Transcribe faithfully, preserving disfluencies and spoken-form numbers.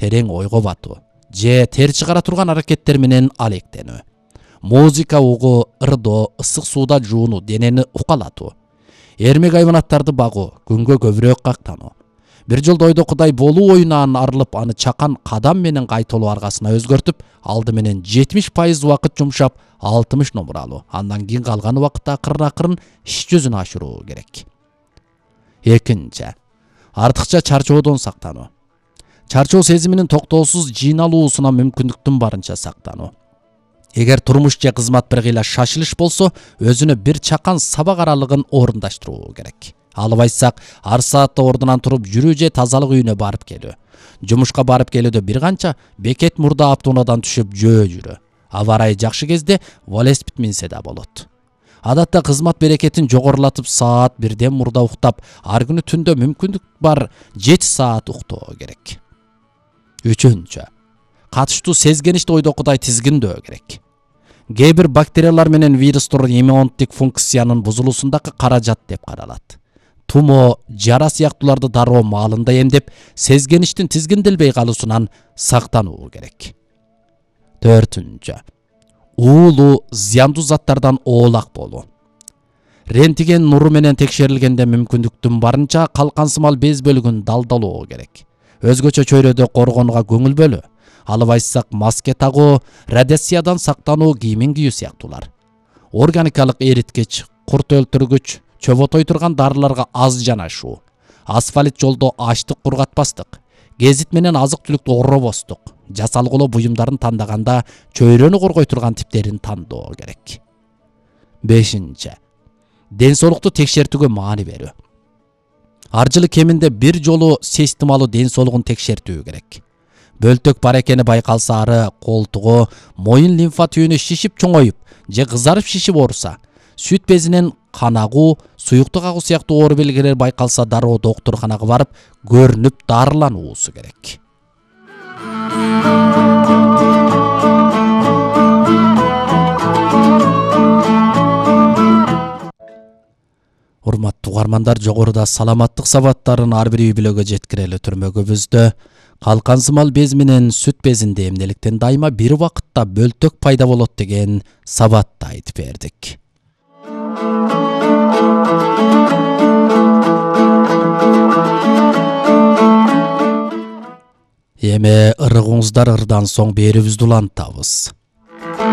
терең ойго батуу же тер чыгара турган аракеттер менен алектенүү. Музыка угуу, ырдоо, ысык сууда жуунуу, денени укалатуу. Эрмек айванаттарды багуу, күнгө көбүрөөк кактануу. Бир жолдо ойдо Кудай болуу оюнан арылып, аны чакан кадам менен кайталоо аргасына өзгөртүп, алды менен жетимиш пайыз убакыт жумшап, алтымыш номур алуу. Андан кийин калган убакытта акырын-акырын иш жүзүнө ашыруу керек. Экинчи, артыкча чарчоодон сактануу. Чарчоо сезиминин токтоосуз жыйналуусуна мүмкүндүктүн барынча сактануу. Эгер турмуш же кызмат бир кыйла шашылыш болсо, өзүнө бир чакан сабак аралыгын орундаштыруу керек. Алып айтсак, ар саатта ордунан туруп жүрүү же тазалык үйүнө барып келүү. Жумушка барып келүүдө бир канча бекет мурда автоунаадан түшүп жөө жүрүү. Аба ырайы жакшы кезде велосипед минсе да болот. Адатта кызмат берекетин жогорулатып саат бирден мурда уктап, ар күнү түндө мүмкүндүк бар жети саат уктоо керек. Үчүнчү, катыштуу сезгеничти ойдо Кудай тизгиндөө керек. Кээ бир бактериялар менен вирустор иммундук функциянын бузулуусундагы каражат деп каралат. Тумо, жара сыяктууларды дароо маалында эмдеп, сезгеништин тизгинделбей калуусунан сактануу керек. Төртүнчү, уулуу, зыяндуу заттардан оолак болуу. Рентген нуру менен текшерилгенде мүмкүндүктүн барынча калкансымал без бөлүгүн далдалоо керек. Өзгөчө чөйрөдө коргонууга көңүл бөлүү. Алып айтсак, маска тагуу, радиациядан сактануу, кийимин кийүү сыяктуулар. Органикалык эриткич, курт өлтүргүч, чөбөтой турган дарыларга аз жанашуу. Асфальт жолдо ачтык кургатпастык. Гезит менен азык-түлүктү орробостук. Жасалгылоо буюмдарын тандаганда чөйрөнү коргой турган типтерин тандоо керек. Бешинчи, ден соолукту текшертүүгө маани берүү. Ар жылы кеминде бир жолу системалуу ден соолугун текшертүү керек. Бөлтөк бар экени байкалса, ары колтугу, моюн лимфа түйүнү шишип чоңоюп же кызарып шишип ооруса, сүт безинен канагуу, суюктук агуу сыяктуу оору белгилери байкалса, дароо доктурканага барып, көрүнүп дарылануусу керек. Урматтуу угармандар, жогоруда саламаттык сабаттарын ар бир үй бүлөгө жеткирели түрмөгүбүздө калкансымал без менен сүт безинде эмнеликтен дайыма бир убакытта бөлтөк пайда болот деген сабатты айтып бердик. Эми ырыгыңыздар ырдан соң берүүбүздү улантабыз.